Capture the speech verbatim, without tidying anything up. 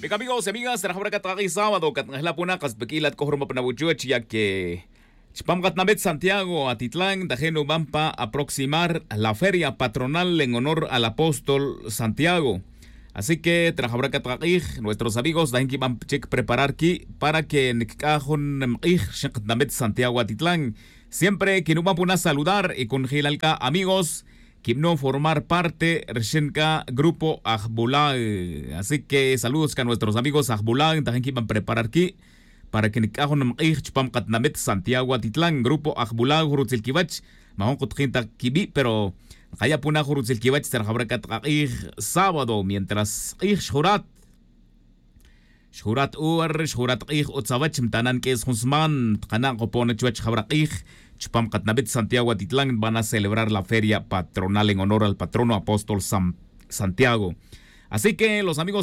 Bien, amigos y amigas, rajawra' cat kak'ij sábado cat nk'ajla' puna' kas pa k'ilat c'ojroma pa nabuchuch ya que chupam katinamit santiago atitlan tajin nuban pa aproximar la feria patronal en honor al apóstol santiago. Así que trajawra' cat kak'ij nuestros amigos tajin quiban chic preparar qui' para que nic'aj jun nimk'ij rixin katinamit santiago atitlan. Siempre quinuban puna' saludar y conojilal c'a amigos quibanon formar parte rixin c'a grupo ajbulag. Así que saludos c'a nuestros amigos ajbulag tajin quiban preparar qui' para que nic'aj jun nimk'ij chupam katinamit santiago atitlan grupo ajbulag rutzil quiwech. Majun kutajin ta quibi' pero nkaya' puna' jun rutzil quiwech tzerjawra' cat kak'ij sábado mientras k'ij xjurat. Xjurat ur xjurat k'ij utz awech mtanan q'uis jun sman tkana' kopon chuwech jawra' k'ij. Chupam katinamit santiago atitlan van a celebrar la feria patronal en honor al patrono apóstol santiago. Así que los amigos